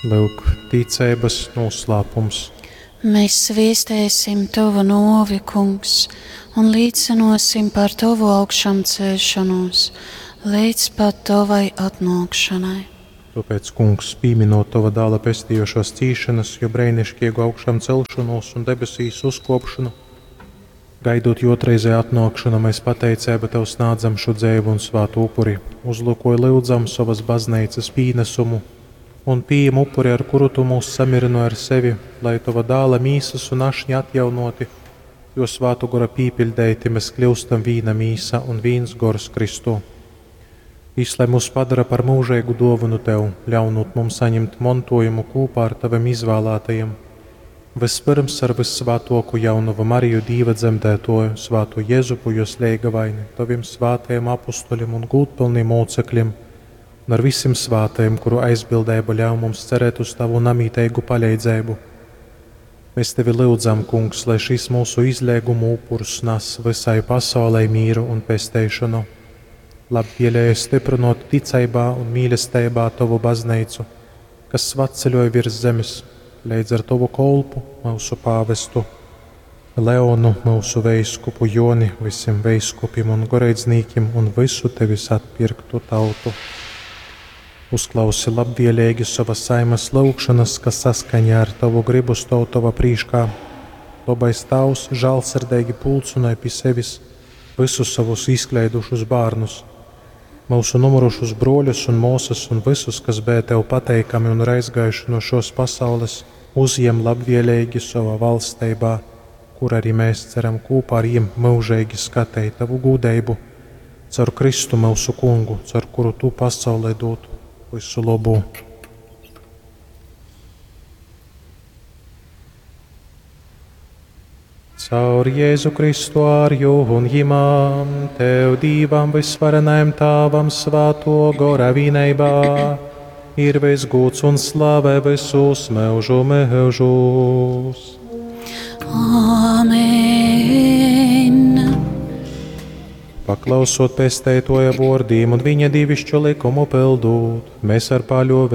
Lyuk, ticeibas nūslāpums. Mēs sviestēsim Tovu nōvi, Kungs, un līcynōsim par Tovu augšamceļšonūs līdz pat Tovai atnōkšanai. Tōpēc, Kungs, pīminot Tova dāla pestījošās cīšanas, jo breinišķīgu augšām celšanos un debesīs uzkopšanu, gaidot jo otrreizē atnākšanu, mēs pateicību Tev snādzam šo dzeivu un svātu upuri, uzlūkoj lyudzam sovas baznīcas pīnesumu un pīm upuri, ar kuru Tu mūs samirino ar sevi, lai Tova dāla mīsas un ašņa atjaunoti, jo svātu gora pīpiļdeiti mēs kļūstam vīna mīsa un vīns gors Kristū. Jis, lai mūs padara par mūžīgu dāvanu Tev, ļaunot mums saņemt montojumu kopā ar Taviem izvēlētajiem. Vispirms ar vissvātoku jaunavu Mariju Dīva dzemdētoju, svāto Jezupu, jos leigavaini, Taviem svātajiem apustuļiem un gūtpilniem mocekļiem, un ar visiem svātajiem, kuru aizbildība ļauj mums cerēt uz Tavu namītīgu palīdzību. Mēs Tevi lūdzam, Kungs, lai šis mūsu izlēgumu upurs nes visai pasaulei mīru un pesteišanu. Labvēlēji stiprinot ticībā un mīlestībā Tavu baznīcu, kas svatceļoja virs zemes, līdz ar Tavu kolpu, mūsu pāvestu, Leonu, mūsu veiskupu Joni, visiem veiskupiem un goreidznīkiem un visu Tevis atpirktu tautu. Uzklausi labvēlīgi savas saimas lūgšanas, kas saskaņā ar Tavu gribu stāv Tava prīškā. Labais Tavs žālsirdīgi pulcināja pie sevis visus savus izkleidušus bērnus, mūsu numurušus broļus un mūsas un visus, kas bija Tev pateikami un ir aizgājuši no šos pasaules, uzjem labvēlīgi savā valstībā, kur arī mēs ceram kopā ar viņiem mūžīgi skatīt Tavu gudrību, caur Kristu mūsu kungu, caur kuru Tu pasaulē dod visu labu. Caur Jēzu Kristu ar jū un jimām, Tev Dīvam visvarenajam Tāvam svāto gora vīneibā, ir visgūts un slave visus mūžu mūžus. Amen. Paklausot pesteitoja vārdiem un viņa dievišķo likumu pildot, mēs ar paļovi